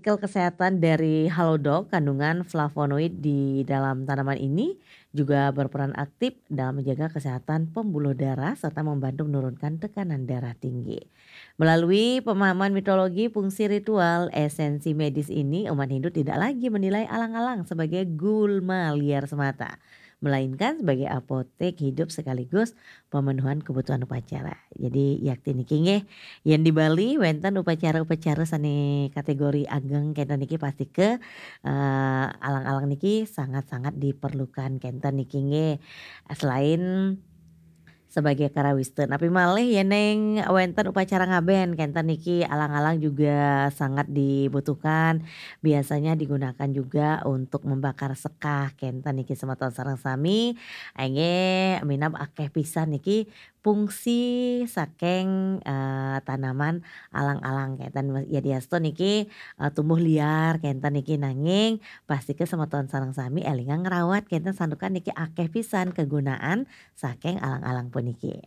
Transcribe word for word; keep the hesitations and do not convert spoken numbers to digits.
Artikel kesehatan dari Halodoc, kandungan flavonoid di dalam tanaman ini juga berperan aktif dalam menjaga kesehatan pembuluh darah serta membantu menurunkan tekanan darah tinggi. Melalui pemahaman mitologi, fungsi ritual, esensi medis ini, umat Hindu tidak lagi menilai alang-alang sebagai gulma liar semata, melainkan sebagai apotek hidup sekaligus pemenuhan kebutuhan upacara. Jadi yakti niki nggih, yen di Bali wenten upacara-upacara sane kategori ageng kenten niki pastike, eh, alang-alang niki sangat-sangat diperlukan kenten niki nggih. Selain sebagai karawiste, napi malih yen ning wenten upacara ngaben kenten niki alang-alang juga sangat dibutuhkan. Biasanya digunakan juga untuk membakar sekah kenten niki semeton sareng sami. Inggih, minab akeh pisan niki fungsi saking, eh, tanaman alang-alang kenten. Yadiastu niki, eh, tumbuh liar kenten niki, nanging pastike semeton sareng sami elingang ngrawat kenten santukan niki akeh pisan kegunaan saking alang-alang puniki.